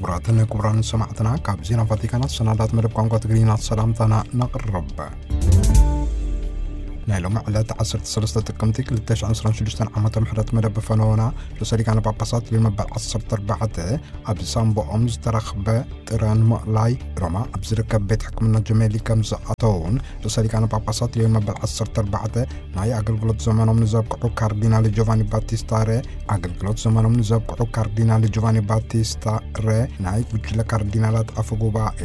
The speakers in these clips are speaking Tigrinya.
ክቡራትን ክቡራን ሰማዕትና፣ ካብ ዜና ቫቲካን ሰናዳት መደብ ቋንቋ ትግርኛ ሰላምታና ነቕርብ። ናይ ሎሚ ዕለት ዓሰርተ ሰለስተ ጥቅምቲ ክልተ ሽሕን ዕስራን ሽዱሽተን ዓመተ ምህረት መደብ ፈነወና ርእሰ ሊቃነ ጳጳሳት ሊዮ መበል ዓሰርተ ኣርባዕተ ኣብ ሳምቦኦም ዝተረኽበ ጥረ ንምእላይ ሮማ ኣብ ዝርከብ ቤት ሕክምና ጀሜሊ ከም ዝኣተውን ርእሰ ሊቃነ ጳጳሳት ሊዮ መበል ዓሰርተ ኣርባዕተ ናይ ኣገልግሎት ዘመኖም ንዘብቅዑ ካርዲናል ጆቫኒ ባቲስታ ረ ኣገልግሎት ዘመኖም ንዘብቅዑ ካርዲናል ጆቫኒ ባቲስታ ረ ናይ ጉጅለ ካርዲናላት ኣፈ ጉባኤ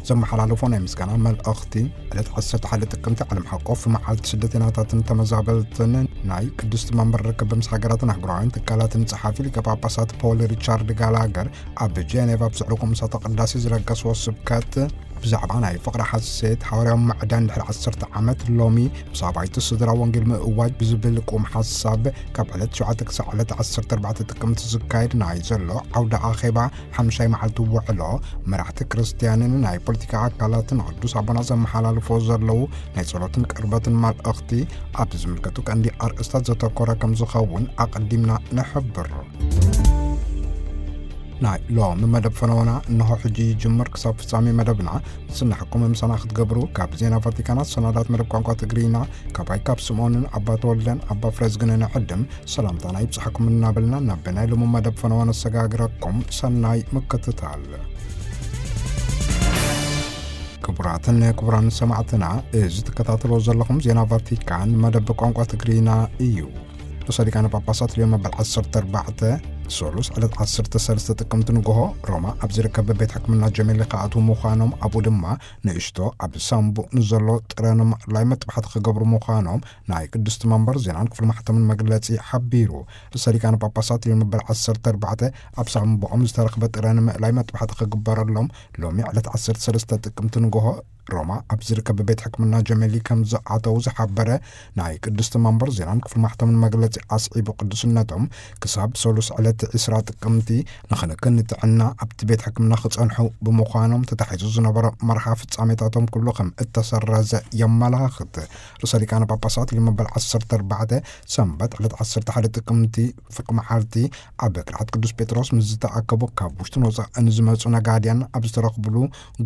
ዘመሓላለፎ ናይ ምስጋና መልእኽቲ። ዕለት ዓሰርተ ሓደ ጥቅምቲ ዓለም ሓቆፍ መዓልቲ ስደተኛታትን ተመዛበልትን ናይ ቅድስቲ መንበር ርክብ ምስ ሃገራትን ኣህጉራውያን ትካላትን ጸሓፊ ሊቀ ጳጳሳት ፖል ሪቻርድ ጋላገር ኣብ ጄኔቭ ኣብ ዘዕለጎ ምሳተ ቅዳሴ ዝለገስዎ ስብከት ብዛዕባ ናይ ፍቕሪ ሓሴት ሓዋርያዊ ማዕዳን ድሕሪ ዓሰርተ ዓመት ሎሚ ምስ ኣባይቲ ስድራ ወንጌል ምእዋጅ ብዝብል ቁም ሓሳብ ካብ ዕለት ሸውዓተ ክሳዕ ዕለት ዓሰርተ ኣርባዕተ ጥቅምቲ ዝካየድ ናይ ዘሎ ዓውደ ኣኼባ ሓምሻይ መዓልቲ ውዕሎ መራሕቲ ክርስትያንን ናይ ፖለቲካ ኣካላትን ቅዱስ ኣቦና ዘመሓላልፎ ዘለዉ ናይ ጸሎትን ቅርበትን መልእኽቲ ኣብ ዝምልከቱ ቀንዲ ኣርእስታት ዘተኮረ ከም ዝኸውን ኣቐዲምና ንሕብር። ናይ ሎሚ መደብ ፈነወና እንሆ ሕጂ ይጅምር። ክሳብ ፍጻሜ መደብና ዝስናሕኩም ምሳና ክትገብሩ ካብ ዜና ቫቲካናት ሰናዳት መደብ ቋንቋ ትግርኛ ካባይ ካብ ስምኦንን ኣባ ተወልደን ኣባ ፍሬዝግንን ዕድም ሰላምታና ይብጽሓኩም እናበልና ናብ ናይ ሎሚ መደብ ፈነወ ነሰጋግረኩም። ሰናይ ምክትታል። ክቡራትን ክቡራን ሰማዕትና፣ እዚ ትከታተልዎ ዘለኹም ዜና ቫቲካን መደብ ቋንቋ ትግርኛ እዩ። ርእሰ ሊቃነ ጳጳሳት ሊዮ መበል ዓሰርተ ኣርባዕተ፣ ሰሉስ ዕለት ዓሰርተ ሰለስተ ጥቅምቲ ንግሆ ሮማ ኣብ ዝርከብ ቤት ሕክምና ጀሜሊ ክኣትዉ ምዃኖም፣ ኣብኡ ድማ ንእሽቶ ኣብ ሳምቡእ ንዘሎ ጥረ ንምእላይ መጥባሕቲ ክገብሩ ምዃኖም ናይ ቅድስቲ መንበር ዜናን ክፍሊ ማሕተምን መግለጺ ሓቢሩ። ርእሰ ሊቃነ ጳጳሳት ሊዮ መበል ዓሰርተ ኣርባዕተ ኣብ ሳምቡኦም ዝተረኽበ ጥረ ንምእላይ መጥባሕቲ ክግበረሎም ሎሚ ዕለት ዓሰርተ ሰለስተ ጥቅምቲ ንግሆ ሮማ ኣብ ዝርከብ ቤት ሕክምና ጀሜሊ ከም ዝኣተው ዝሓበረ ናይ ቅድስቲ መንበር ዜናን ክፍሊ ማሕተምን መግለጺ ኣስዒቡ፣ ቅዱስነቶም ክሳብ ሰሉስ ዕለት ዕስራ ጥቅምቲ ንክንክን ንጥዕና ኣብቲ ቤት ሕክምና ክጸንሑ ብምዃኖም ተታሒዙ ዝነበረ መርሃ ፍጻሜታቶም ኩሉ ከም እተሰረዘ የመላኽት። ርእሰ ሊቃነ ጳጳሳት ሊዮ መበል ዓሰርተ ኣርባዕተ ሰንበት ዕለት ዓሰርተ ሓደ ጥቅምቲ ፍርቂ መዓልቲ ኣብ ቅርዓት ቅዱስ ጴጥሮስ ምስ ዝተኣከቡ ካብ ውሽጥን ወጻእን ዝመጹ ነጋድያን ኣብ ዝተረኽብሉ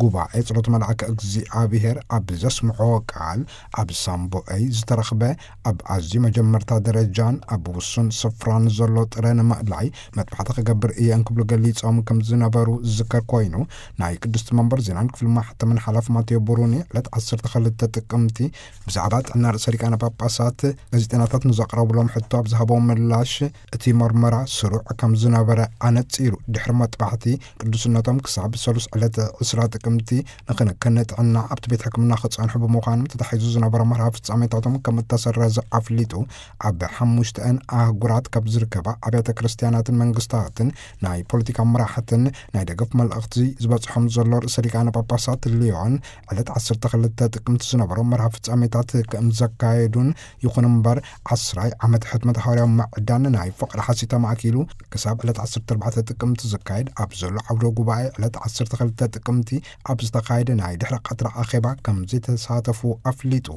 ጉባኤ ጸሎት መልኣከ እግዚኣብሔር ኣብ ዘስምዖ ቃል፣ ኣብ ሳምቦኣይ ዝተረኽበ ኣብ ኣዝዩ መጀመርታ ደረጃን ኣብ ውሱን ስፍራን ዘሎ ጥረ ንምእላይ መጥባሕቲ ክገብር እየ እንክብሉ ገሊጾም ከም ዝነበሩ ዝዝከር ኮይኑ፣ ናይ ቅድስቲ መንበር ዜናን ክፍሊ ማሕተምን ሓላፊ ማቴዎ ብሩኒ ዕለት ዓሰርተ ክልተ ጥቅምቲ ብዛዕባ ጥዕና ርእሰ ሊቃነ ጳጳሳት ጋዜጠኛታት ንዘቕረብሎም ሕቶ ኣብ ዝሃቦም ምላሽ፣ እቲ መርመራ ስሩዕ ከም ዝነበረ ኣነጺሩ። ድሕሪ መጥባሕቲ ቅዱስነቶም ክሳብ ሰሉስ ዕለት ዕስራ ጥቅምቲ ንክንክን ጥዕና ኣብቲ ቤት ሕክምና ክጸንሑ ብምዃኖም ተታሒዙ ዝነበረ መርሃ ፍጻሜታቶም ከም እተሰረዘ ኣፍሊጡ። ኣብ ሓሙሽተአን ኣህጉራት ካብ ዝርከባ ኣብያተ ክርስትያናትን መንግስታትን ናይ ፖለቲካ መራሕትን ናይ ደገፍ መልእኽቲ ዝበጽሖም ዘሎ ርእሰ ሊቃነ ጳጳሳት ሊዮን ዕለት ዓሰርተ ክልተ ጥቅምቲ ዝነበሮ መርሃ ፍጻሜታት ከም ዘካየዱን፣ ይኹን እምበር ዓስራይ ዓመት ሕትመት ሃዋርያዊ ምዕዳን ናይ ፍቕሪ ሓሲት ተማእኪሉ ክሳብ ዕለት ዓሰርተ ኣርባዕተ ጥቅምቲ ዝካየድ ኣብ ዘሎ ዓውደ ጉባኤ ዕለት ዓሰርተ ክልተ ጥቅምቲ ኣብ ዝተኻየደ ናይ ድሕሪ ቀትሪ ኣኼባ ከም ዘይተሳተፉ ኣፍሊጡ።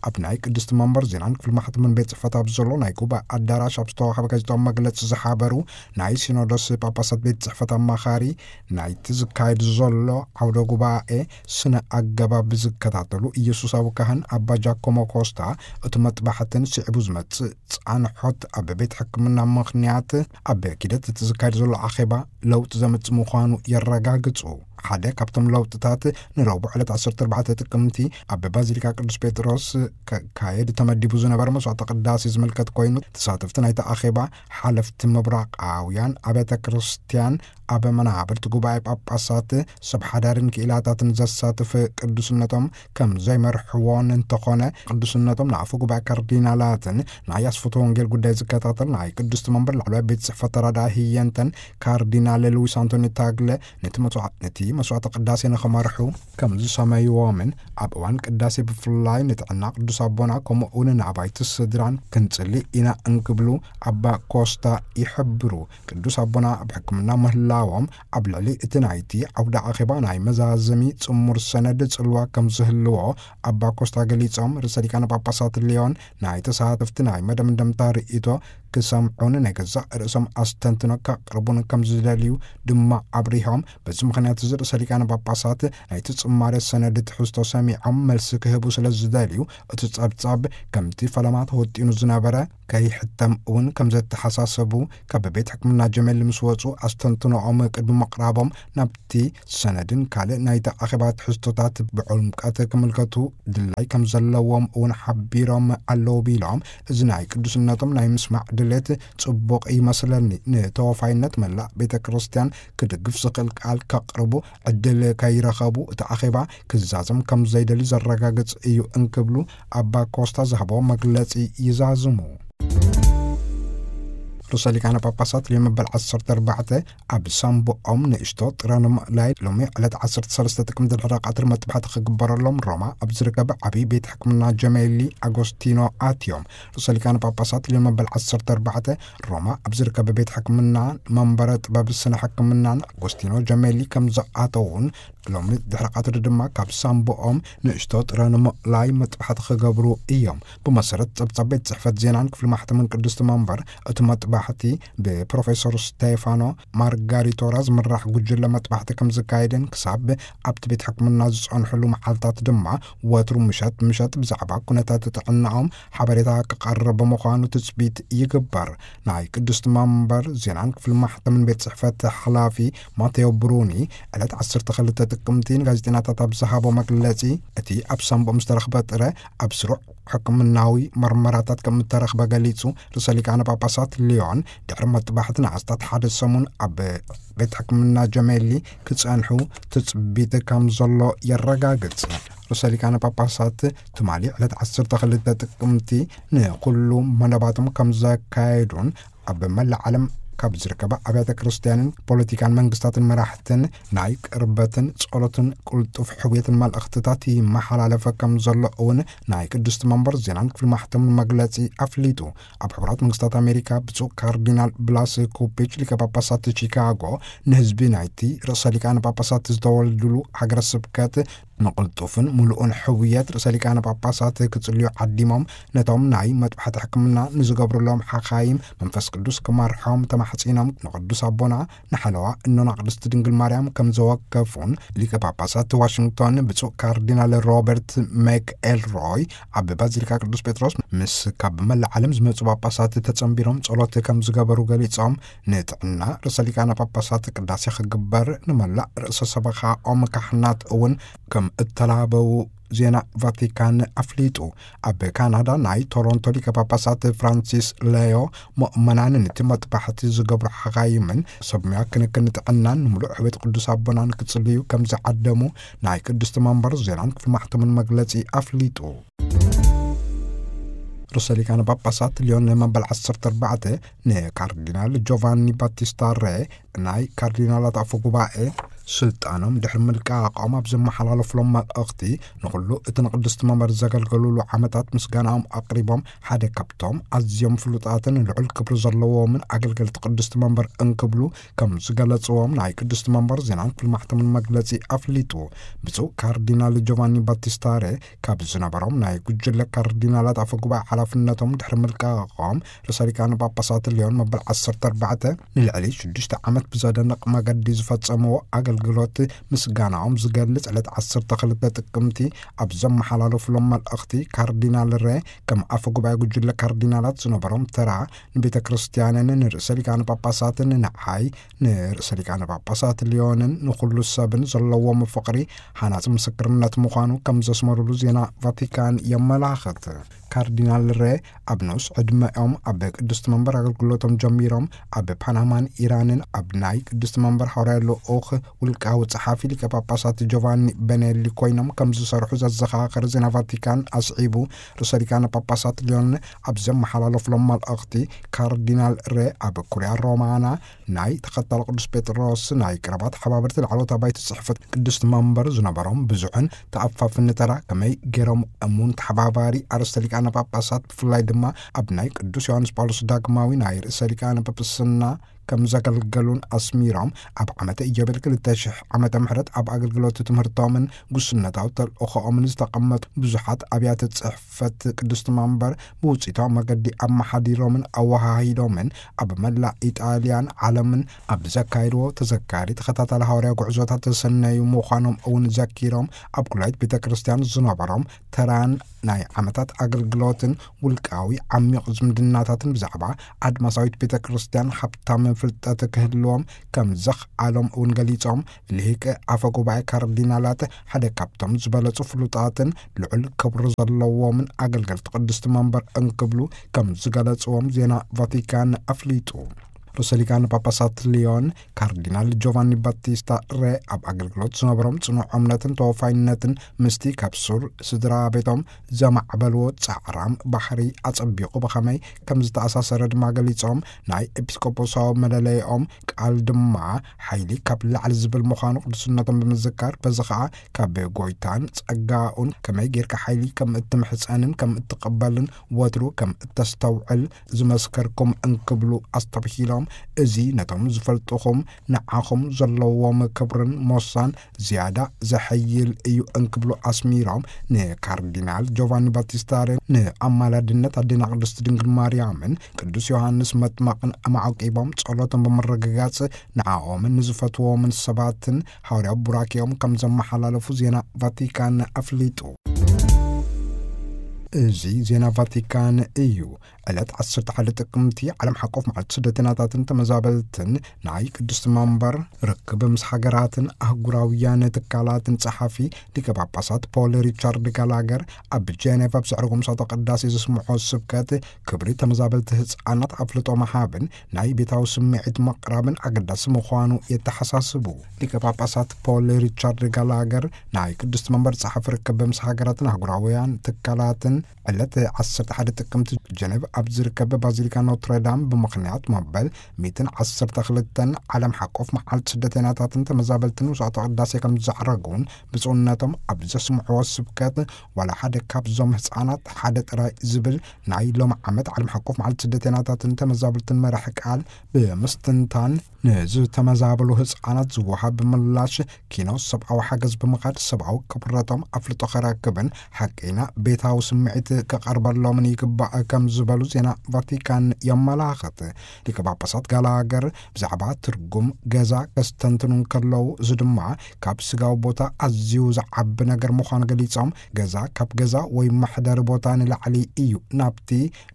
ኣብ ናይ ቅድስቲ መንበር ዜናን ክፍሊ ማሕተምን ቤት ጽሕፈት ኣብ ዘሎ ናይ ጉባኤ ኣዳራሽ ኣብ ዝተዋህበ ጋዜጣዊ መግለጺ ዝሓበሩ ናይ ሲኖዶስ ጳጳሳት ቤት ጽሕፈት ኣማኻሪ፣ ናይቲ ዝካየድ ዘሎ ዓውደ ጉባኤ ስነ ኣገባብ ዝከታተሉ ኢየሱሳዊ ካህን ኣባ ጃኮሞ ኮስታ፣ እቲ መጥባሕትን ስዒቡ ዝመጽእ ጻንሖት ኣብ ቤት ሕክምና ምኽንያት ኣብ ኪደት እቲ ዝካየድ ዘሎ ኣኼባ ለውጢ ዘምጽእ ምዃኑ የረጋግጹ። ሓደ ካብቶም ለውጥታት ንረቡዕ ዕለት ዓሰርተ ኣርባዕተ ጥቅምቲ ኣብ ባዚሊካ ቅዱስ ጴጥሮስ ክካየድ ተመዲቡ ዝነበረ መስዋዕተ ቅዳሴ ዝምልከት ኮይኑ፣ ተሳተፍቲ ናይቲ ኣኼባ ሓለፍቲ ምብራቓውያን ኣብያተ ክርስትያን ኣብ መናብርቲ ጉባኤ ጳጳሳት ሰብ ሓዳርን ክኢላታትን ዘሳትፍ ቅዱስነቶም ከም ዘይመርሕዎን እንተኾነ፣ ቅዱስነቶም ንኣፈ ጉባኤ ካርዲናላትን ናይ ኣስፍቶ ወንጌል ጉዳይ ዝከታተል ናይ ቅድስቲ መንበር ላዕለዋይ ቤት ጽሕፈት ተራዳኢ ህየንተን ካርዲናል ሉዊስ ኣንቶኒ ታግለ ነቲ መስዋ-፣ ነቲ መስዋዕተ ቅዳሴ ንኽመርሑ ከም ዝሰመይዎምን ኣብ እዋን ቅዳሴ ብፍላይ ንጥዕና ቅዱስ ኣቦና ከምኡ እውን ንኣባይቲ ስድራን ክንጽሊ ኢና እንክብሉ ኣባ ኮስታ ይሕብሩ። ቅዱስ ኣቦና ኣብ ሕክምና ምህላ ዎም ኣብ ልዕሊ እቲ ናይቲ ዓውደ ኣኼባ ናይ መዛዘሚ ጽሙር ሰነድ ጽልዋ ከም ዝህልዎ ኣባ ኮስታ ገሊጾም፣ ርእሰ ሊቃነ ጳጳሳት ሊዮን ናይ ተሳተፍቲ ናይ መደምደምታ ርእይቶ ክሰምዑን ናይ ገዛእ ርእሶም ኣስተንትኖ ከቕርቡን ከም ዝደልዩ ድማ ኣብሪሆም። በዚ ምኽንያት እዚ ርእሰ ሊቃነ ጳጳሳት ናይቲ ጽማሬ ሰነድ ትሕዝቶ ሰሚዖም መልሲ ክህቡ ስለ ዝደልዩ፣ እቲ ጸብጻብ ከምቲ ፈለማ ተወጢኑ ዝነበረ ከይሕተም እውን ከም ዘተሓሳሰቡ ካብ ቤት ሕክምና ጀመል ምስ ወጹ ኣስተንትኖኦም ቅድሚ ምቕራቦም ናብቲ ሰነድን ካልእ ናይቲ ኣኼባ ትሕዝቶታት ብዕምቀት ክምልከቱ ድላይ ከም ዘለዎም እውን ሓቢሮም ኣለዉ ቢሎም፣ እዚ ናይ ቅዱስነቶም ናይ ምስማዕ ድሌት ጽቡቕ ይመስለኒ። ንተወፋይነት መላእ ቤተ ክርስቲያን ክድግፍ ዝኽእል ቃል ከቕርቡ ዕድል ከይረኸቡ እቲ ኣኼባ ክዛዘም ከም ዘይደልዩ ዘረጋግጽ እዩ እንክብሉ ኣባ ኮስታ ዝሃቦ መግለጺ ይዛዝሙ። ርእሰ ሊቃነ ጳጳሳት ሊዮ መበል ዓሰርተ ኣርባዕተ ኣብ ሳምቡኦም ንእሽቶ ጥረ ንምእላይ ሎሚ ዕለት ዓሰርተ ሰለስተ ጥቅምቲ ድሕሪ ቀትሪ መጥባሕቲ ክግበረሎም ሮማ ኣብ ዝርከብ ዓብዪ ቤት ሕክምና ጀሜሊ ኣጎስቲኖ ኣትዮም። ርእሰ ሊቃነ ጳጳሳት ሊዮ መበል ዓሰርተ ኣርባዕተ ሮማ ኣብ ዝርከብ ቤት ሕክምና መንበረ ጥበብ ስነ ሕክምናን ኣጎስቲኖ ጀሜሊ ከም ዝኣተውን ሎሚ ድሕሪ ቀትሪ ድማ ካብ ሳምቦኦም ንእሽቶ ጥረ ንምእላይ መጥባሕቲ ክገብሩ እዮም። ብመሰረት ጸብጻብ ቤት ጽሕፈት ዜናን ክፍሊ ማሕተምን ቅድስቲ መንበር፣ እቲ መጥባሕቲ ብፕሮፌሰር ስቴፋኖ ማርጋሪቶራ ዝምራሕ ጉጅለ መጥባሕቲ ከም ዝካየድን ክሳብ ኣብቲ ቤት ሕክምና ዝጸንሕሉ መዓልታት ድማ ወትሩ ምሸት ምሸት ብዛዕባ ኩነታት ጥዕናኦም ሓበሬታ ክቐርብ ምዃኑ ትጽቢት ይግበር። ናይ ቅድስቲ መንበር ዜናን ክፍሊ ማሕተምን ቤት ጽሕፈት ሓላፊ ማቴዎ ብሩኒ ዕለት ዓሰርተ ክልተ ጥቅምቲ ንጋዜጠኛታት ኣብ ዝሃቦ መግለጺ፣ እቲ ኣብ ሳምቦኦም ዝተረኽበ ጥረ ኣብ ስሩዕ ሕክምናዊ መርመራታት ከም እተረኽበ ገሊጹ። ርእሰ ሊቃነ ጳጳሳት ሊዮን ድሕሪ መጥባሕቲ ንኣስታት ሓደ ሰሙን ኣብ ቤት ሕክምና ጀሜሊ ክጸንሑ ትጽቢት ከም ዘሎ የረጋግጽ። ርእሰ ሊቃነ ጳጳሳት ትማሊ ዕለት ዓሰርተ ክልተ ጥቅምቲ ንኩሉ መደባቶም ከም ዘካየዱን ኣብ መላእ ዓለም ካብ ዝርከባ ኣብያተ ክርስቲያንን ፖለቲካን መንግስታትን መራሕትን ናይ ቅርበትን ጸሎትን ቅልጡፍ ሕውየትን መልእኽትታት ይመሓላለፈ ከም ዘሎ እውን ናይ ቅድስቲ መንበር ዜናን ክፍሊ ማሕተምን መግለጺ ኣፍሊጡ። ኣብ ሕቡራት መንግስታት ኣሜሪካ ብፁዕ ካርዲናል ብላስ ኩፒች ሊቀ ጳጳሳት ቺካጎ ንህዝቢ ናይቲ ርእሰ ሊቃነ ጳጳሳት ዝተወልድሉ ሃገረ ስብከት ንቕልጡፍን ምሉእን ሕውየት ርእሰ ሊቃነ ጳጳሳት ክጽልዩ ዓዲሞም፣ ነቶም ናይ መጥባሕቲ ሕክምና ንዝገብሩሎም ሓኻይም መንፈስ ቅዱስ ክመርሖም ተማሕጺኖም፣ ንቅዱስ ኣቦና ንሓለዋ እኖና ቅድስቲ ድንግል ማርያም ከም ዘወከፉን ሊቀ ጳጳሳት ዋሽንግቶን ብፁዕ ካርዲናል ሮበርት ሜክ ኤልሮይ ኣብ ባዚሊካ ቅዱስ ጴጥሮስ ምስ ካብ መላእ ዓለም ዝመጹ ጳጳሳት ተጸንቢሮም ጸሎት ከም ዝገበሩ ገሊጾም፣ ንጥዕና ርእሰ ሊቃነ ጳጳሳት ቅዳሴ ክግበር ንመላእ ርእሰ ሰበኻኦም ካህናት እውን ከም እተላበዉ ዜና ቫቲካን ኣፍሊጡ። ኣብ ካናዳ ናይ ቶሮንቶ ሊቀ ጳጳሳት ፍራንሲስ ሌዮ ምእመናን ነቲ መጥባሕቲ ዝገብሩ ሓኻይምን ሰብ ሙያ ክንክን ጥዕናን ንምሉእ ሕውየት ቅዱስ ኣቦናን ክጽልዩ ከም ዝዓደሙ ናይ ቅድስቲ መንበር ዜናን ክፍሊ ማሕተምን መግለጺ ኣፍሊጡ። ርእሰ ሊቃነ ጳጳሳት ሊዮን መበል ዓሰርተ ኣርባዕተ ንካርዲናል ጆቫኒ ባቲስታ ሬ ናይ ካርዲናላት ኣፈ ጉባኤ ስልጣኖም ድሕሪ ምልቃቖም ኣብ ዘመሓላለፍሎም መልእኽቲ፣ ንኹሉ እቲ ንቅድስቲ መንበር ዘገልገሉሉ ዓመታት ምስጋናኦም ኣቕሪቦም፣ ሓደ ካብቶም ኣዝዮም ፍሉጣትን ልዑል ክብሪ ዘለዎምን ኣገልገልቲ ቅድስቲ መንበር እንክብሉ ከም ዝገለጽዎም ናይ ቅድስቲ መንበር ዜናን ክፍሊ ማሕተምን መግለጺ ኣፍሊጡ። ብፁዕ ካርዲናል ጆቫኒ ባቲስታ ሬ ካብ ዝነበሮም ናይ ጉጅለ ካርዲናላት ኣፈ ጉባኤ ሓላፍነቶም ድሕሪ ምልቃቖም፣ ርእሰ ሊቃነ ጳጳሳት ሊዮን መበል ዓሰርተ ኣርባዕተ ንልዕሊ ሽዱሽተ ዓመት ብዘደንቕ መገዲ ዝፈጸምዎ ኣገልግሎት ምስጋናኦም ዝገልጽ ዕለት ዓሰርተ ክልተ ጥቅምቲ ኣብ ዘመሓላለፉሎም መልእኽቲ፣ ካርዲናል ሬ ከም ኣፈ ጉባኤ ጉጅለ ካርዲናላት ዝነበሮም ተራ ንቤተ ክርስቲያንን ንርእሰ ሊቃነ ጳጳሳትን ንዓይ ንርእሰ ሊቃነ ጳጳሳት ሊዮንን ንኹሉ ሰብን ዘለዎም ፍቕሪ ሃናጺ ምስክርነት ምዃኑ ከም ዘስመሩሉ ዜና ቫቲካን የመላኽት። ካርዲናል ሬ ኣብ ንኡስ ዕድመኦም ኣብ ቅድስቲ መንበር ኣገልግሎቶም ጀሚሮም፣ ኣብ ፓናማን ኢራንን ኣብ ናይ ቅድስቲ መንበር ሃዋርያ ልኡኽ ውልቃዊ ጸሓፊ ሊቀ ጳጳሳት ጆቫኒ በኔሊ ኮይኖም ከም ዝሰርሑ ዘዘኻኸረ ዜና ቫቲካን ኣስዒቡ፣ ርእሰ ሊቃነ ጳጳሳት ሊዮን ኣብ ዘመሓላለፍሎም መልእኽቲ፣ ካርዲናል ሬ ኣብ ኩርያ ሮማና ናይ ተኸታሊ ቅዱስ ጴጥሮስ ናይ ቀረባ ተሓባበርቲ ላዕለዎት ኣባይቲ ጽሕፈት ቅድስቲ መንበር ዝነበሮም ብዙሕን ተኣፋፍኒ ተራ፣ ከመይ ገይሮም እሙን ተሓባባሪ ኣርእስተ ሊቃነ ጳጳሳት፣ ብፍላይ ድማ ኣብ ናይ ቅዱስ ዮሃንስ ጳውሎስ ዳግማዊ ናይ ርእሰ ሊቃነ ጳጳስና ከም ዘገልገሉን ኣስሚሮም፣ ኣብ ዓመተ ኢዮቤል ክልተ ሽሕ ዓመተ ምሕረት ኣብ ኣገልግሎት ትምህርቶምን ጉስነታዊ ተልእኾኦምን ዝተቐመጡ ብዙሓት ኣብያተ ጽሕፈት ቅድስቲ መንበር ብውጽኢታዊ መገዲ ኣመሓዲሮምን ኣወሃሂዶምን፣ ኣብ መላእ ኢጣልያን ዓለምን ኣብ ዘካየድዎ ተዘካሪ ተኸታታሊ ሃዋርያ ጉዕዞታት ተሰነዩ ምዃኖም እውን ዘኪሮም፣ ኣብ ኩላይት ቤተ ክርስቲያን ዝነበሮም ተራን ናይ ዓመታት ኣገልግሎትን ውልቃዊ ዓሚቕ ዝምድናታትን ብዛዕባ ኣድማሳዊት ቤተ ክርስቲያን ሃብታም ፍልጠት ክህልዎም ከም ዘኽኣሎም እውን ገሊጾም፣ ልሂቅ ኣፈ ጉባኤ ካርዲናላት ሓደ ካብቶም ዝበለጹ ፍሉጣትን ልዑል ክብሪ ዘለዎምን ኣገልገልቲ ቅድስቲ መንበር እንክብሉ ከም ዝገለጽዎም ዜና ቫቲካን ኣፍሊጡ። ርእሰ ሊቃነ ጳጳሳት ሊዮን ካርዲናል ጆቫኒ ባቲስታ ሬ ኣብ ኣገልግሎት ዝነበሮም ጽኑዕ እምነትን ተወፋይነትን ምስቲ ካብ ሱር ስድራ ቤቶም ዘማዕበልዎ ጻዕራም ባህሪ ኣጸቢቑ ብኸመይ ከም ዝተኣሳሰረ ድማ ገሊጾም፣ ናይ ኤጲስቆጶሳዊ መለለይኦም ቃል ድማ ሓይሊ ካብ ላዕሊ ዝብል ምዃኑ ቅዱስነቶም ብምዝካር፣ በዚ ኸኣ ካብ ጎይታን ጸጋኡን ከመይ ጌርካ ሓይሊ ከም እትምሕጸንን ከም እትቕበልን ወትሩ ከም እተስተውዕል ዝመስከርኩም እንክብሉ ኣስተብሂሎም፣ እዚ ነቶም ዝፈልጥኹም ንዓኹም ዘለዎም ክብርን ሞሳን ዝያዳ ዘሐይል እዩ እንክብሉ ኣስሚሮም፣ ንካርዲናል ጆቫኒ ባቲስታ ሬ ንኣማላድነት ኣዴና ቅድስቲ ድንግል ማርያምን ቅዱስ ዮሃንስ መጥመቕን ኣማዕቂቦም ጸሎቶም ብምርግጋጽ፣ ንዓኦምን ንዝፈትዎምን ሰባትን ሃዋርያዊ ቡራኬኦም ከም ዘመሓላለፉ ዜና ቫቲካን ኣፍሊጡ። እዚ ዜና ቫቲካን እዩ። ዕለት ዓሰርተ ሓደ ጥቅምቲ ዓለም ሓቆፍ መዓልቲ ስደተኛታትን ተመዛበልትን ናይ ቅድስቲ መንበር ርክብ ምስ ሃገራትን ኣህጉራውያን ትካላትን ጸሓፊ ሊቀ ጳጳሳት ፖል ሪቻርድ ጋላገር ኣብ ጄኔቭ ኣብ ዘዕረጎ ምሳቶ ቅዳሴ ዘስምዖ ስብከት፣ ክብሪ ተመዛበልቲ ህጻናት ኣፍልጦ ምሃብን ናይ ቤታዊ ስምዒት ምቕራብን ኣገዳሲ ምዃኑ የተሓሳስቡ። ሊቀ ጳጳሳት ፖል ሪቻርድ ጋላገር ናይ ቅድስቲ መንበር ጸሓፊ ርክብ ምስ ሃገራትን ኣህጉራውያን ትካላትን ዕለት ዓሰርተ ሓደ ጥቅምቲ ጀነቭ ኣብ ዝርከብ ባዚሊካ ኖትረዳም ብምኽንያት መበል ሚእትን ዓሰርተ ክልተን ዓለም ሓቆፍ መዓልቲ ስደተኛታትን ተመዛበልትን ውሳቶ ቅዳሴ ከም ዘዕረጉን ብፁዕነቶም ኣብ ዘስምዕዎ ስብከት፣ ዋላ ሓደ ካብዞም ህፃናት ሓደ ጥራይ ዝብል ናይ ሎም ዓመት ዓለም ሓቆፍ መዓልቲ ስደተኛታትን ተመዛበልትን መራሕ ቃል ብምስትንታን፣ ንዝተመዛበሉ ህፃናት ዝወሃብ ምላሽ ኪኖ ሰብኣዊ ሓገዝ ብምኻድ ሰብኣዊ ክብረቶም ኣፍልጦ ከረክብን ሓቀይና ቤታዊ ስምዒት ከቐርበሎምን ይግባእ ከም ዝበሉ ዜና ቫቲካን የመላኽት። ሊቀ ጳጳሳት ጋላገር ብዛዕባ ትርጉም ገዛ ከስተንትኑ እንከለዉ፣ እዚ ድማ ካብ ስጋዊ ቦታ ኣዝዩ ዝዓቢ ነገር ምዃኑ ገሊጾም፣ ገዛ ካብ ገዛ ወይ መሕደሪ ቦታ ንላዕሊ እዩ። ናብቲ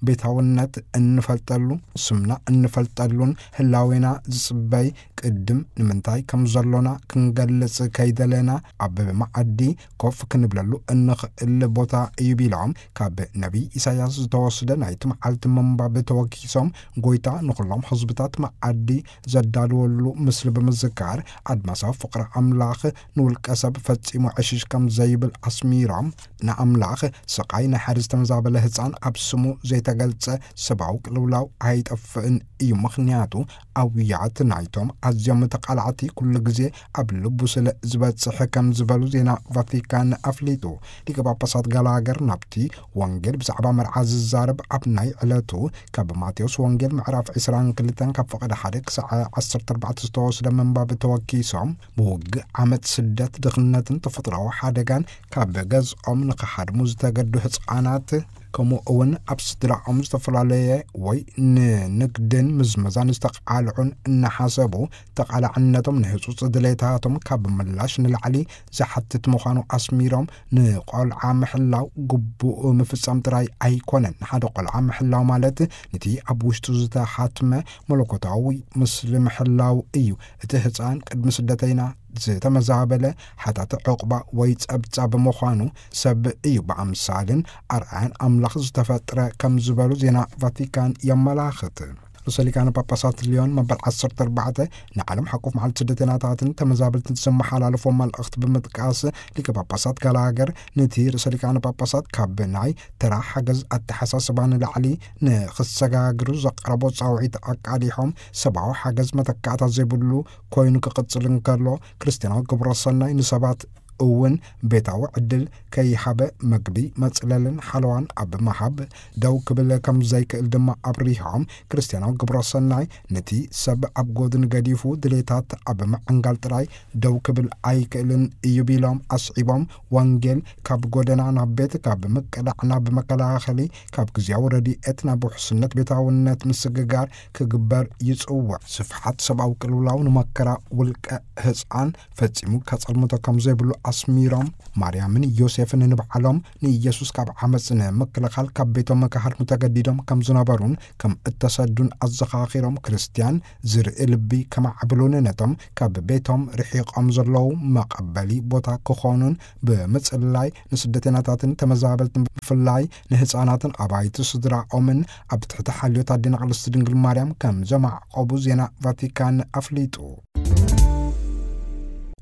ቤታውነት እንፈልጠሉ፣ ስምና እንፈልጠሉን ህላዌና ዝጽበይ ቅድም ንምንታይ ከም ዘሎና ክንገልጽ ከይደለና ኣብ መዓዲ ኮፍ ክንብለሉ እንኽእል ቦታ እዩ ቢሎም፣ ካብ ነቢይ ኢሳያስ ዝተወስደ ናይቲ መዓልቲ ምንባብ ተወኪሶም፣ ጎይታ ንኹሎም ህዝብታት መዓዲ ዘዳልወሉ ምስሊ ብምዝካር፣ ኣድማሳዊ ፍቕሪ ኣምላኽ ንውልቀ ሰብ ፈጺሙ ዕሽሽ ከም ዘይብል ኣስሚሮም፣ ንኣምላኽ ስቓይ ናይ ሓደ ዝተመዛበለ ህጻን ኣብ ስሙ ዘይተገልጸ ሰብኣዊ ቅልውላው ኣይጠፍእን እዩ፣ ምኽንያቱ ኣውያት ናይቶም ኣዝዮም ተቓላዕቲ ኩሉ ግዜ ኣብ ልቡ ስለ ዝበጽሕ ከም ዝበሉ ዜና ቫቲካን ኣፍሊጡ። ሊቀ ጳጳሳት ጋላገር ናብቲ ወንጌል ብዛዕባ መርዓ ዝዛረብ ኣብ ናይ ዕለቱ ካብ ማቴዎስ ወንጌል ምዕራፍ ዕስራን ክልተን ካብ ፍቕዲ ሓደ ክሳዕ ዓሰርተ ኣርባዕተ ዝተወስደ ምንባብ ተወኪሶም፣ ብውግእ ዓመት ስደት ድኽነትን ተፈጥሮኣዊ ሓደጋን ካብ ገዝኦም ንኽሃድሙ ዝተገዱ ህፃናት፣ ከምኡ እውን ኣብ ስድራኦም ዝተፈላለየ ወይ ንንግድን ምዝመዛን ዝተቃልዑን እናሓሰቡ፣ ተቃላዕነቶም ንህፁፅ ድሌታቶም ካብ ምላሽ ንላዕሊ ዝሓትት ምዃኑ ኣስሚሮም፣ ንቆልዓ ምሕላው ግቡእ ምፍጻም ጥራይ ኣይኮነን። ንሓደ ቆልዓ ምሕላው ማለት ነቲ ኣብ ውሽጡ ዝተሓትመ መለኮታዊ ምስሊ ምሕላው እዩ። እቲ ህፃን ቅድሚ ስደተይና ዝተመዛበለ፣ ሓታቲ ዕቑባ ወይ ጸብጻብ ምዃኑ፣ ሰብ እዩ ብኣምሳልን ኣርኣያን ኣምላኽ ዝተፈጥረ ከም ዝበሉ ዜና ቫቲካን የመላኽት። ርእሰ ሊቃነ ጳጳሳት ሊዮን መበል ዓሰርተ ኣርባዕተ ንዓለም ሓቆፍ መዓልቲ ስደተኛታትን ተመዛበልትን ዘመሓላለፎ መልእኽቲ ብምጥቃስ፣ ሊቀ ጳጳሳት ጋላገር ነቲ ርእሰ ሊቃነ ጳጳሳት ካብ ናይ ተራ ሓገዝ ኣተሓሳስባ ንላዕሊ ንኽሰጋግሩ ዘቕረቦ ጻውዒት ኣቃሊሖም፣ ሰብኣዊ ሓገዝ መተካእታ ዘይብሉ ኮይኑ ክቕጽል እንከሎ፣ ክርስትያናዊ ግብረ ሰናይ ንሰባት እውን ቤታዊ ዕድል ከይሃበ፣ መግቢ፣ መጽለልን ሓለዋን ኣብ ምሃብ ደው ክብል ከም ዘይክእል ድማ ኣብሪሆም፣ ክርስትያናዊ ግብረ ሰናይ ነቲ ሰብ ኣብ ጎድኒ ገዲፉ፣ ድሌታት ኣብ ምዕንጋል ጥራይ ደው ክብል ኣይክእልን እዩ ቢሎም ኣስዒቦም፣ ወንጌል ካብ ጎደና ናብ ቤት፣ ካብ ምቅላዕ ናብ መከላኸሊ፣ ካብ ግዜያዊ ረድኤት ናብ ውሕስነት ቤታውነት ምስግጋር ክግበር ይጽውዕ። ስፍሓት ሰብኣዊ ቅልውላው ንመከራ ውልቀ ህጻን ፈጺሙ ከጸልምቶ ከም ዘይብሉ ኣስሚሮም፣ ማርያምን ዮሴፍን ንባዕሎም ንኢየሱስ ካብ ዓመጽ ንምክልኻል ካብ ቤቶም ክሃድሙ ተገዲዶም ከም ዝነበሩን ከም እተሰዱን ኣዘኻኺሮም፣ ክርስትያን ዝርኢ ልቢ ከማዕብሉን ነቶም ካብ ቤቶም ርሒቖም ዘለዉ መቐበሊ ቦታ ክኾኑን ብምጽላይ፣ ንስደተኛታትን ተመዛበልትን ብፍላይ ንህጻናትን ኣባይቲ ስድራኦምን ኣብ ትሕቲ ሓልዮት ኣዴና ቅድስቲ ድንግል ማርያም ከም ዘማዕቆቡ ዜና ቫቲካን ኣፍሊጡ።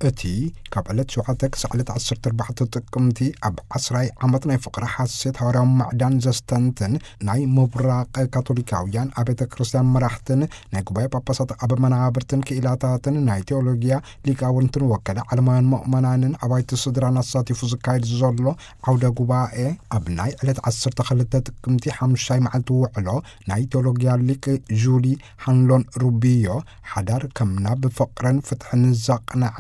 እቲ ካብ ዕለት ሸውዓተ ክሳዕ ዕለት ዓሰርተ ኣርባዕተ ጥቅምቲ ኣብ ዓስራይ ዓመት ናይ ፍቕሪ ሓሴት ሃዋርያዊ ምዕዳን ዘስተንትን ናይ ምብራቕ ካቶሊካውያን ኣቤተ ክርስቲያን መራሕትን ናይ ጉባኤ ጳጳሳት ኣብ መናብርትን ክኢላታትን ናይ ቴዎሎጊያ ሊቃውንትን ወከለ ዓለማውያን ምእመናንን ኣባይቲ ስድራን ኣሳቲፉ ዝካየድ ዘሎ ዓውደ ጉባኤ፣ ኣብ ናይ ዕለት ዓሰርተ ክልተ ጥቅምቲ ሓሙሻይ መዓልቲ ውዕሎ ናይ ቴዎሎጊያ ሊቅ ጁሊ ሃንሎን ሩቢዮ፣ ሓዳር ከም ናብ ፍቕርን ፍትሕን ዘቕንዐ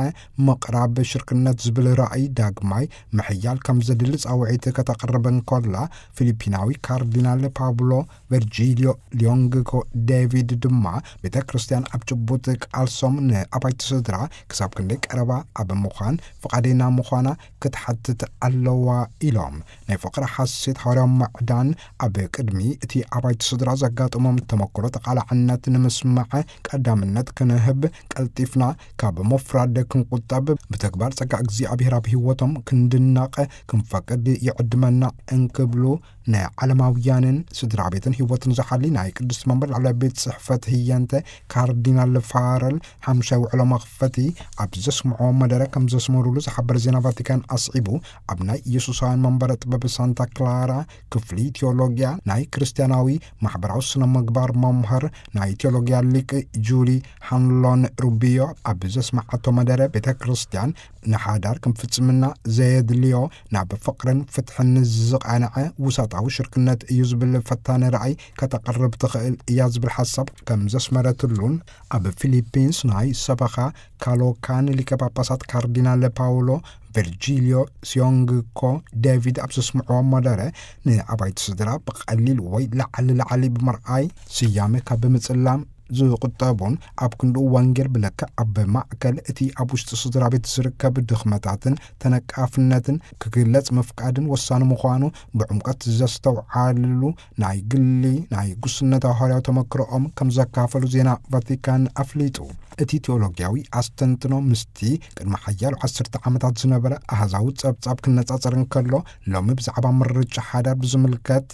ምቕራብ ሽርክነት ዝብል ራእይ ዳግማይ ምሕያል ከም ዘድሊ ጻውዒት ከተቕርብ እንከላ፣ ፊሊፒናዊ ካርዲናል ፓብሎ ቨርጂልዮ ሊዮንግኮ ዴቪድ ድማ፣ ቤተ ክርስቲያን ኣብ ጭቡጥ ቃልሶም ንኣባይቲ ስድራ ክሳብ ክንደይ ቀረባ ኣብ ምዃን ፍቓደኛ ምዃና ክትሓትት ኣለዋ ኢሎም። ናይ ፍቕሪ ሓሴት ሃዋርያዊ ምዕዳን ኣብ ቅድሚ እቲ ኣባይቲ ስድራ ዘጋጥሞም ተመክሮ ተቓላዕነት ንምስማዕ ቀዳምነት ክንህብ፣ ቀልጢፍና ካብ ምፍራድ ክንቁጠብ፣ ብተግባር ጸጋ እግዚኣብሔር ኣብ ህይወቶም ክንድነቕ ክንፈቅድ ይዕድመና እንክብሉ፣ ንዓለማውያንን ስድራ ቤትን ህይወትን ዝሓሊ ናይ ቅድስቲ መንበር ላዕለዋይ ቤት ጽሕፈት ህየንተ ካርዲናል ፋረል ሓምሻይ ውዕሎ መኽፈቲ ኣብ ዘስምዖ መደረ ከም ዘስመሩሉ ዝሓበረ ዜና ቫቲካን ኣስዒቡ፣ ኣብ ናይ ኢየሱሳውያን መንበረ ጥበብ ሳንታ ክላራ ክፍሊ ቴዎሎጊያ ናይ ክርስትያናዊ ማሕበራዊ ስነ ምግባር መምህር ናይ ቴዎሎጊያ ሊቅ ጁሊ ሃንሎን ሩቢዮ ኣብ ዘስማዓቶ መደረ፣ ቤተ ክርስቲያን ንሓዳር ከም ፍጽምና ዘየድልዮ፣ ናብ ፍቕርን ፍትሕን ዝቐንዐ ውሳጣዊ ሽርክነት እዩ ዝብል ፈታኒ ራእይ ከተቕርብ ትኽእል እያ ዝብል ሓሳብ ከም ዘስመረትሉን፣ ኣብ ፊሊፒንስ ናይ ሰበኻ ካሎካን ሊቀ ጳጳሳት ካርዲናል ፓውሎ ቨርጂልዮ ሲዮንግኮ ዴቪድ ኣብ ዘስምዕዎ መደረ፣ ንኣባይቲ ስድራ ብቐሊል ወይ ላዕሊ ላዕሊ ብምርኣይ፣ ስያመ ካብ ምጽላም ዝቑጠቡን፣ ኣብ ክንድኡ ወንጌል ብልክዕ ኣብ ማእከል እቲ ኣብ ውሽጢ ስድራ ቤት ዝርከብ ድኽመታትን ተነቃፍነትን ክግለጽ ምፍቃድን ወሳኒ ምዃኑ ብዕምቀት ዘስተውዓልሉ፣ ናይ ግሊ ናይ ጉስነታዊ ሃዋርያዊ ተመክሮኦም ከም ዘካፈሉ ዜና ቫቲካን ኣፍሊጡ። እቲ ቴዎሎጊያዊ ኣስተንትኖ ምስቲ ቅድሚ ሓያሎ ዓሰርተ ዓመታት ዝነበረ ኣሃዛዊ ጸብጻብ ክነጻጸር እንከሎ፣ ሎሚ ብዛዕባ ምርጫ ሓዳር ብዝምልከት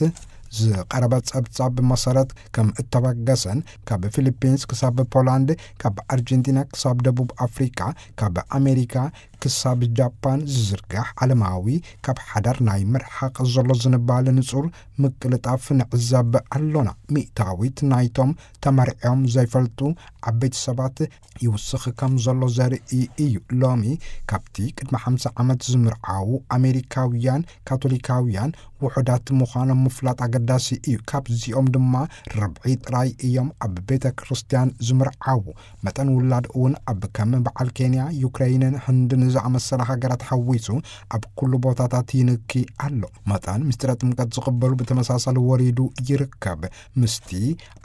ዝቐረበ ጸብጻብ መሰረት ከም እተበገሰን፣ ካብ ፊሊፒንስ ክሳብ ፖላንድ፣ ካብ ኣርጀንቲና ክሳብ ደቡብ ኣፍሪቃ፣ ካብ ኣሜሪካ ክሳብ ጃፓን ዝዝርጋሕ ዓለማዊ ካብ ሓዳር ናይ ምርሓቕ ዘሎ ዝንባለ ንጹር ምቅልጣፍ ንዕዘብ ኣሎና። ሚእታዊት ናይቶም ተመርዕዮም ዘይፈልጡ ዓበይቲ ሰባት ይውስኽ ከም ዘሎ ዘርኢ እዩ። ሎሚ ካብቲ ቅድሚ ሓምሳ ዓመት ዝምርዓዉ ኣሜሪካውያን ካቶሊካውያን ውሑዳት ምዃኖም ምፍላጥ ኣገዳሲ እዩ። ካብዚኦም ድማ ርብዒ ጥራይ እዮም ኣብ ቤተ ክርስቲያን ዝምርዓዉ። መጠን ውላድ እውን ኣብ ከም በዓል ኬንያ፣ ዩክረይንን ህንድን ዝኣመሰላ ሃገራት ሓዊሱ ኣብ ኩሉ ቦታታት ይንኪ ኣሎ። መጠን ምስጢረ ጥምቀት ዝቕበሉ ብተመሳሳሊ ወሪዱ ይርከብ። ምስቲ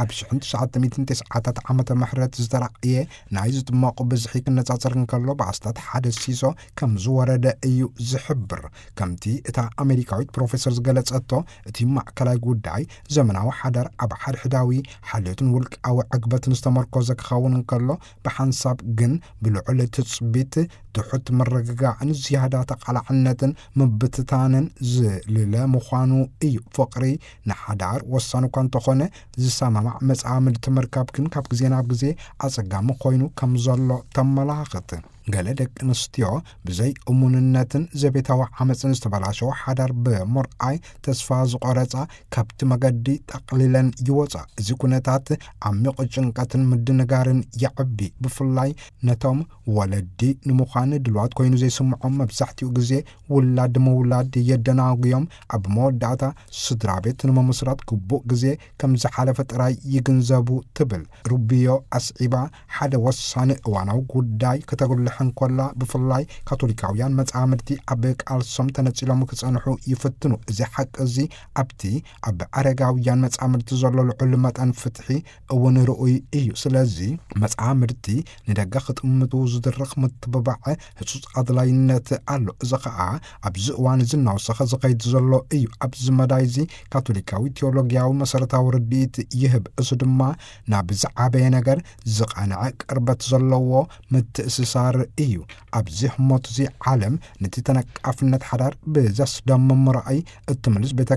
ኣብ ሽሕን ትሽዓተ ሚእትን ተስዓታት ዓመተ ምሕረት ዝተራእየ ናይ ዝጥመቑ ብዝሒ ክነጻጸር እንከሎ፣ ብኣስታት ሓደ ሲሶ ከም ዝወረደ እዩ ዝሕብር። ከምቲ እታ ኣሜሪካዊት ፕሮፌሰር ዝገለጸቶ፣ እቲ ማእከላይ ጉዳይ ዘመናዊ ሓዳር ኣብ ሓድሕዳዊ ሓልዮትን ውልቃዊ ዕግበትን ዝተመርኮዘ ክኸውን እንከሎ፣ ብሓንሳብ ግን ብልዑል ትጽቢት፣ ትሑት ምርግጋእን ዝያዳ ተቓላዕነትን ምብትታንን ዝልለ ምዃኑ እዩ። ፍቕሪ ንሓዳር ወሳኒ እኳ እንተኾነ፣ ዝሰማማዕ መጻምድቲ ምርካብ ግን ካብ ግዜ ናብ ግዜ ኣጸጋሚ ኮይኑ ከም ዘሎ ተመላኽት። ገለ ደቂ ኣንስትዮ ብዘይ እሙንነትን ዘቤታዊ ዓመፅን ዝተበላሸወ ሓዳር ብምርኣይ ተስፋ ዝቆረፃ፣ ካብቲ መገዲ ጠቕሊለን ይወፃ። እዚ ኩነታት ዓሚቕ ጭንቀትን ምድንጋርን የዕቢ። ብፍላይ ነቶም ወለዲ ንምዃን ድልዋት ኮይኑ ዘይስምዖም፣ መብዛሕትኡ ግዜ ውላድ ምውላድ የደናጉዮም። ኣብ መወዳእታ ስድራ ቤት ንምምስራት ግቡእ ግዜ ከም ዝሓለፈ ጥራይ ይግንዘቡ ትብል ሩቢዮ ኣስዒባ። ሓደ ወሳኒ እዋናዊ ጉዳይ ከተጉልሕ እንኮላ፣ ብፍላይ ካቶሊካውያን መጻምድቲ ኣብ ቃልሶም ተነጺሎም ክጸንሑ ይፍትኑ። እዚ ሓቂ እዚ ኣብቲ ኣብ ኣረጋውያን መጻምድቲ ዘሎ ልዑል መጠን ፍትሒ እውን ርኡይ እዩ። ስለዚ መጻምድቲ ንደገ ክጥምቱ ዝድርኽ ምትብባዕ ህጹጽ ኣድላይነት ኣሎ። እዚ ኸኣ ኣብዚ እዋን እዚ እናወሰኸ ዝኸይድ ዘሎ እዩ። ኣብዚ መዳይ እዚ ካቶሊካዊ ቴዎሎጊያዊ መሰረታዊ ርድኢት ይህብ። እዚ ድማ ናብ ዝዓበየ ነገር ዝቐንዐ ቅርበት ዘለዎ ምትእስሳር እዩ። ኣብዚ ህሞት እዚ ዓለም ነቲ ተነቃፍነት ሓዳር ብዘስደምም ራእይ እትምልስ ቤተ